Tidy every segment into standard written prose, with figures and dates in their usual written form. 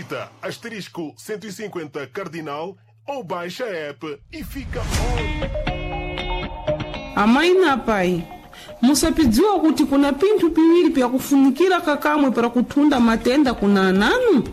Digita *150 cardinal ou baixa a app e fica on. Amayi na apai, musapidziwa kuti kuna pinthu piwiri pyakufunikira kakamwe para kuthunda matenda kuna ananu?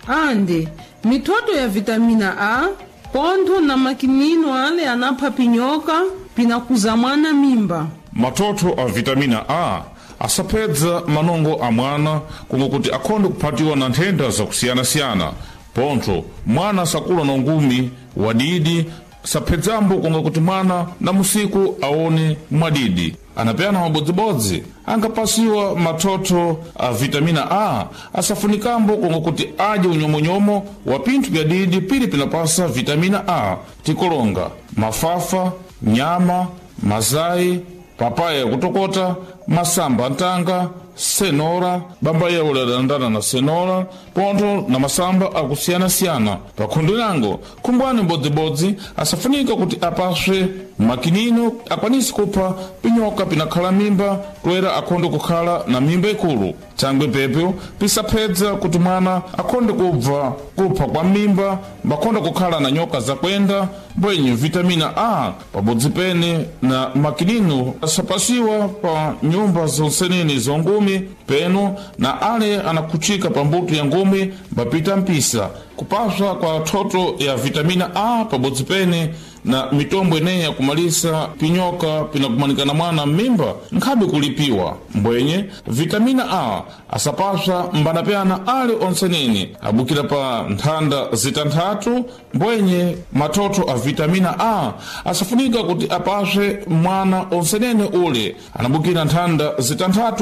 Ande mithoto ya vitamina A pontho na makinino ale anapha pinyoka pinakuza mwana mimba. Mathotho a vitamina A asapedza manongo a mwana kunga kuti akhonde kuphatiwa na nthenda zakusiyanasiyana. Pontho mwana sakula na ungumi wadidi, saphedzambo kunga kuti mwana na musiku aone mwadidi. Anapeyana mabodzibodzi angapasiwa mathotho a vitamina A asafunikambo kunga kuti adye unyomonyomo wa pinthu pya didi pili pinapasa vitamina A, tikolonga mafafa, nyama, mazayi, papaya yakutokota, masamba antanga, senora, bamba yawo ladandana na senora, pontho na masamba akusiyanasiyana. Pakhundu lango khumbwani mbodzibodzi asafunika kuti apaswe makinino akwanise kupha pinyoka pinakhala mimba, toera akhonde kukhala na mimba ikulu. Thangwe pepyo pisaphedza kuti mwana akhonde kubva kupha kwa mimba, mbakhonde kukhala na nyoka zakwenda. Mbwenye vitamina A pabodzi pene na makinino asapasiwa pa nyumba zonsenene zongumi peno na ale anakhuchika pa mbuto ya ngumi mbapita mpisa. Kupaswa kwa thoto ya vitamina A pabodzi pene na mitombo ineyi yakumalisa pinyoka pinakumanikana mwana m'mimba nkhabe kulipiwa. Mbwenye vitamina A asapaswa mbanapyana ali onsenene abukira pa nthanda zitanthatu. Mbwenye mathotho a vitamina A asafunika kuti apaswe mwana onsenene ule anabukira nthanda zitanthatu.